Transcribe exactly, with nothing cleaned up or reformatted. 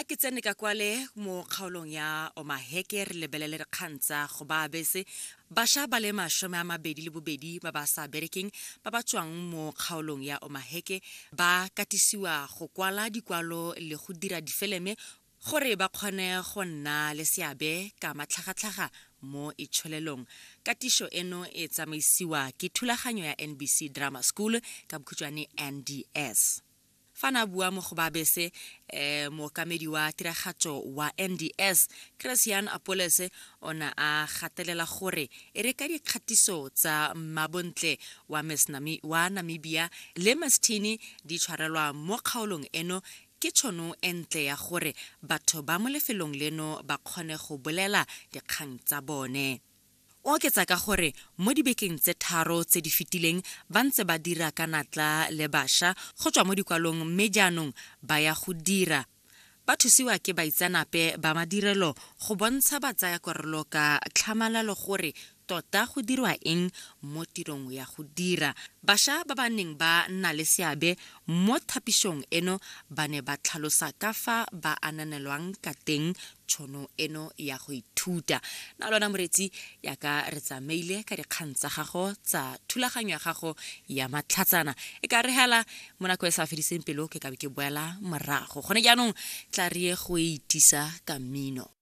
Ke tsene ka kwale mo kgaolong ya Omaheke, re lebelele dikgang tsa go baya bese. Bašwa ba le masome a mabedi le bobedi ba ba sa berekeng ba ba tswang mo kgaolong ya Omaheke ba katisiwa go kwala dikwalo le go dira difeleme gore ba kgone go nna le seabe ka matlhagatlhaga mo itsholelong. Katiso eno e tsamaisiwa ke thulaganyo ya N B C Drama School, ka bokhutshwane N D S. Fa na bua mo go ba bese, um mookamedi wa tiragatso wa N D S, Christian Apoles, o ne a gatelela gore e re ka dikgatiso tsa Mabontle wa Miss Nami, wa Namibia le Miss Tini di tshwarelwa mo kgaolong eno, ke tšhono e ntle ya gore batho ba mo lefelong leno ba kgone go bolela dikgang tsa bone. O oketsa ka gore mo dibekeng tse tharo tse di fetileng ba ntse ba dira ka natla le bašwa go tswa mo dikwalong, mme jaanong ba ya go dira ba thusiwa ke baitseanape ba madirelo go bontsha batsayakarolo ka tlhamalalo gore tota go dirwa eng mo tirong ya go dira. Bašwa ba ba neng ba nna le seabe mo thapisong eno ba ne ba tlhalosa ka fa ba ananelwang ka teng tšhono eno ya go ithuta. Na lona moretsi, yaka re tsamaile ka dikgang tsa gago tsa thulaganyo ya gago ya matlhatsana, e ka re hela mo nako e sa fediseng pelo ke ka be ke boela morago. Gone jaanong tla re ye go e itisa ka mmino.